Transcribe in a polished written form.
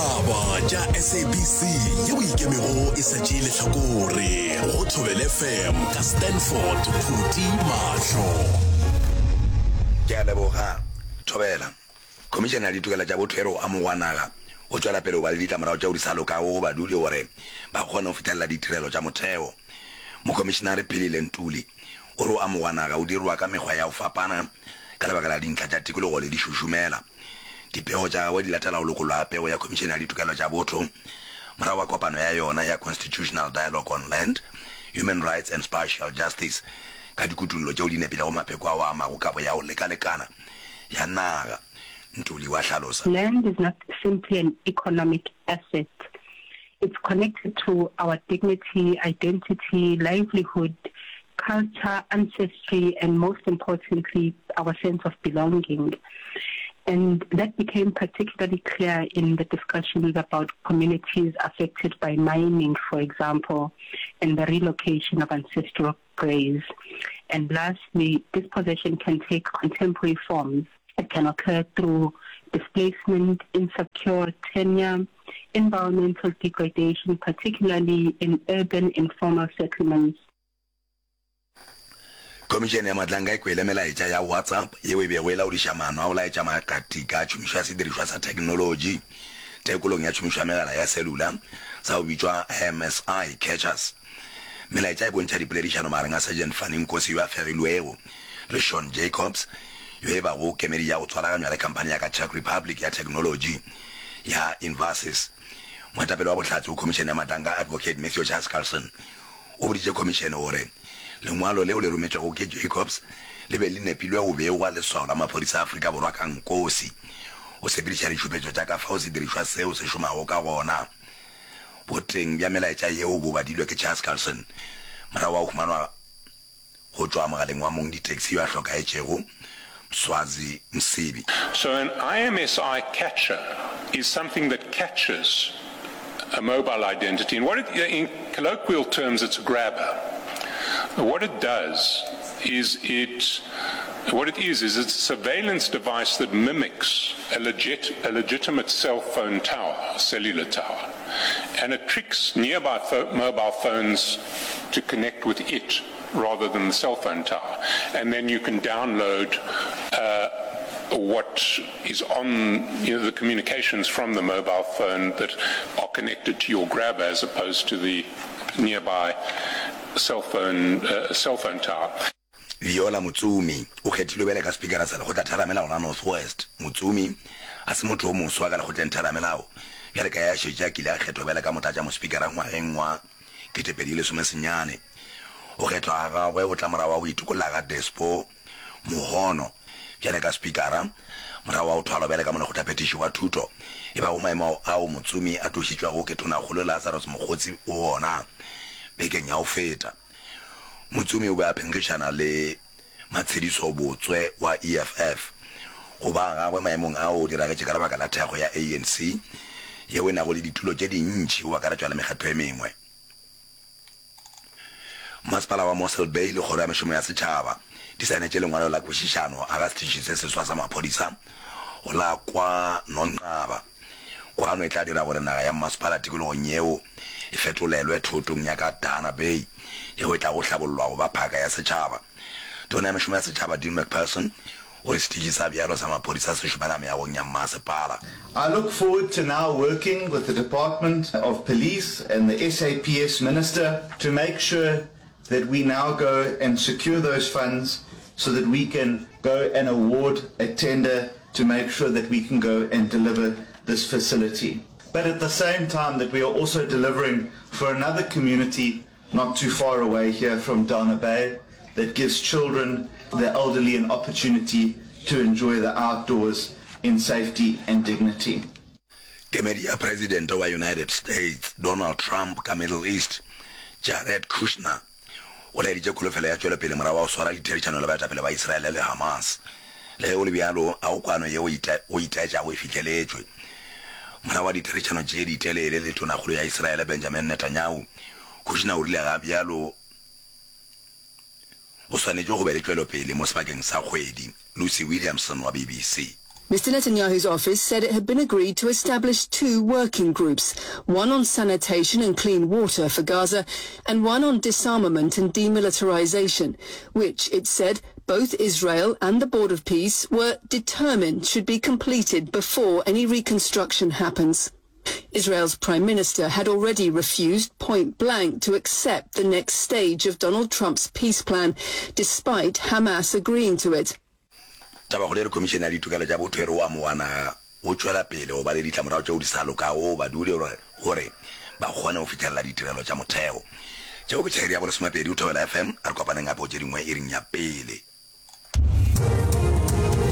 Ditaba tša SABC yeo ikemego e sa tšee lehlakore go Thobela FM ka Stanford Phuti Mahlo. Ke a leboga, Thobela. Khomišene ya Ditokelo tša Botho e re go amogwa naga go tšwela pele go ba le ditlamorago tšeo di sa lokago go badudi gore ba kgone go fihlelela ditirelo tša motheo. Mokhomišenare Philile Ntuli o re go amogwa naga o dirwa ka mekgwa ya go fapana ka lebaka la dintlha tša tikologo le dišušumela. Dipego tša gagwe di latela go lokollwa ga pego ya Khomišene ya Ditokelo tša Botho morago ga kopano ya yona ya Constitutional Dialogue on Land, Human Rights and Spatial Justice ka dikutullo tšeo di nepilego mapheko ao a amago kabo ya go lekalekana ya naga, Ntuli wa hlalosa. Land is not simply an economic asset, it's connected to our dignity, identity, livelihood, culture, ancestry and most importantly our sense of belonging. And that became particularly clear in the discussions about communities affected by mining, for example, and the relocation of ancestral graves. And lastly, dispossession can take contemporary forms. It can occur through displacement, insecure tenure, environmental degradation, particularly in urban informal settlements. Khomišene ya Matlanka e kwele melaetša ya WhatsApp yeo e bego e laodiša maano a go laetša makatika a tšhomišo ya sedirišwa sa theknolotši tekolong ya tšhomišo ya megala ya cellular sa go bitšwa MSI Catchers. Melaetša e bontšha dipoledišano magareng a Sergeant Fanny Nkosi yo a fegilwego le Sean Jacobs yo e bago kemedi ya go tswalaganywa le khamphani ya ka Czech Republic ya theknolotši ya Invasys. Moetapele wa bohlatse go Khomišene ya Matlanka Advocate Matthew Chaskalson O boditše khomišene gore lengwalo leo le rometšwego ke Jacobs le be le nepilwe go begwa leswao la maphodisa a Afrika Borwa ka Nkosi go sepediša ditšhupetšo tša ka fao sedirišwa seo se šomago ka gona. Boteng bja melaetša yeo bo badilwe ke Chaskalson morago ga go humanwa go tšwa mogaleng wa mong ditaxi yo a hlokaetšego, Mswazi Msibi. So an IMSI catcher is something that catches a mobile identity and what it, in colloquial terms it's a grabber. What it does is it what it is is it's a surveillance device that mimics a legit a legitimate cell phone tower, a cellular tower, and it tricks nearby pho mobile phones to connect with it rather than the cell phone tower. And then you can download uh, what is on you know, the communications from the mobile phone that are connected to your grabber as opposed to the nearby cell phone, uh, cell phone tower. Viola Motsumi o kgethilwe bjale ka Spikara sa Lekgotlatheramelao la North West. Motsumi a se motho o moswa ka Lekgotlengtheramelao bjale ka ge a šetše a kile a kgethwa bjale ka Motlatšamospikara ngwageng wa 2019. Go kgethwa ga gagwe go tla morago ga go itokolla ga Despo Mohono bjale ka Spikara morago ga go thwalwa bjale ka Molekgotlaphethiši wa Thuto e bago maemo ao Motsumi a tlošitšwego ke Tonakgolo Lazarus Mokgotsi go ona bekeng ya go feta. Motsumi o be a phenkgišana le Matshediso Botswe wa EFF. Go ba ga gagwe maemong ao go diragetše ka lebaka la thekgo ya ANC yeo e nago le ditulo tše dintši go akaretšwa le mekgatlo e mengwe. Masepala wa Mossel Bay le Kgoro ya Mešomo ya Setšhaba di saenetše lengwalo la kwešišano aga setiši se seswa sa maphodisa go la kwa Nonqaba. Kwano e tla dira gore naga ya mmasepala tikologong yeo e fetolelwe thotong ya ka Dana Bay yeo e tlago hlabollwa go ba phaka ya setšhaba. Tona ya Mešomo ya Setšhaba Dean Macpherson o re setiši sa bjalo sa maphodisa se šomela meagong ya mmasepala. I look forward to now working with the Department of Police and the SAPS Minister to make sure that we now go and secure those funds so that we can go and award a tender to make sure that we can go and deliver this facility. But at the same time that we are also delivering for another community not too far away here from Dana Bay that gives children, the elderly an opportunity to enjoy the outdoors in safety and dignity. Kemedi ya Presidente wa United States Donald Trump ka Middle East, Jared Kushner, o laeditše kholofelo ya tšwelopele morago ga go swara ditherišano le baetapele ba Israele le Hamas. Le ge go le bjalo, ga go kwano yeo go itaetšago e fihleletšwe. Morago ga ditherišano tše ditelele le Tonakgolo ya Israele Benjamin Netanyahu, Kushner o rile ga bjalo go swanetše go be le tšwelopele mo sebakeng sa kgwedi. Lucy Williamson wa BBC. Mr Netanyahu's office said it had been agreed to establish two working groups, one on sanitation and clean water for Gaza and one on disarmament and demilitarization, which, it said, both Israel and the Board of Peace were determined should be completed before any reconstruction happens. Israel's prime minister had already refused point blank to accept the next stage of Donald Trump's peace plan, despite Hamas agreeing to it. Tabakgolo e re Khomišene ya Ditokelo tša Botho e re o amoga naga go tšwela pele go ba le ditlamorago tšeo di sa lokago go badudi gore ba kgone go fihlelela ditirelo tša motheo. Tšeo ke tša iri ya bolesomepedi go Thobela FM. A re kopaneng gape go tše dingwe iring ya pele.